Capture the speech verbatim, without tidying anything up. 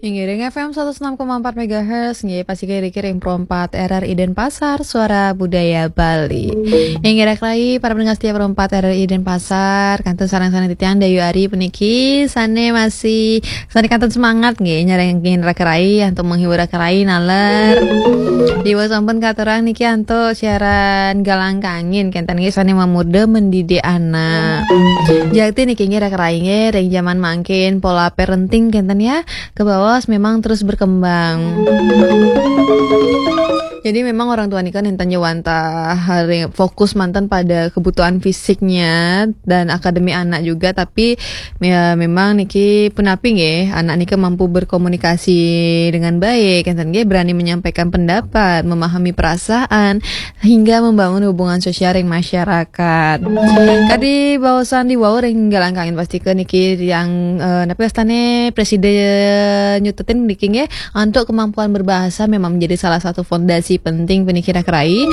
Inggih ring F M seratus enam koma empat megahertz, nggih, pastika ring Pro empat R R I Denpasar, Suara Budaya Bali. Inggih raka rai, para pendengar setia Pro empat R R I Denpasar, kantun sareng-sareng titiang Dayu Ari puniki, sane masih, sane kantun semangat, nggih, nyarengin raka rai, antuk menghibur raka rai, naler. Diwau sampun katurang niki antuk siaran Galang Kangin, kenten nggih, sane mamurda mendidik anak. Jakti niki nggih raka rai nggih, ring jaman mangkin pola parenting kenten ya, kabaos memang terus berkembang. Jadi memang orang tua nika nenten ja wantah hari fokus manten pada kebutuhan fisiknya dan akademi anak juga, tapi ya memang niki punapi nggih, anak nika mampu berkomunikasi dengan baik, kenten nggih, berani menyampaikan pendapat, memahami perasaan, hingga membangun hubungan sosial ring masyarakat. Kadi baosan diwau ring Galang Kangin, pastika niki yang, eh, napi wastane Presiden nyutetin niki nggih, antuk kemampuan berbahasa memang menjadi salah satu fondasi penting puniki raka rai.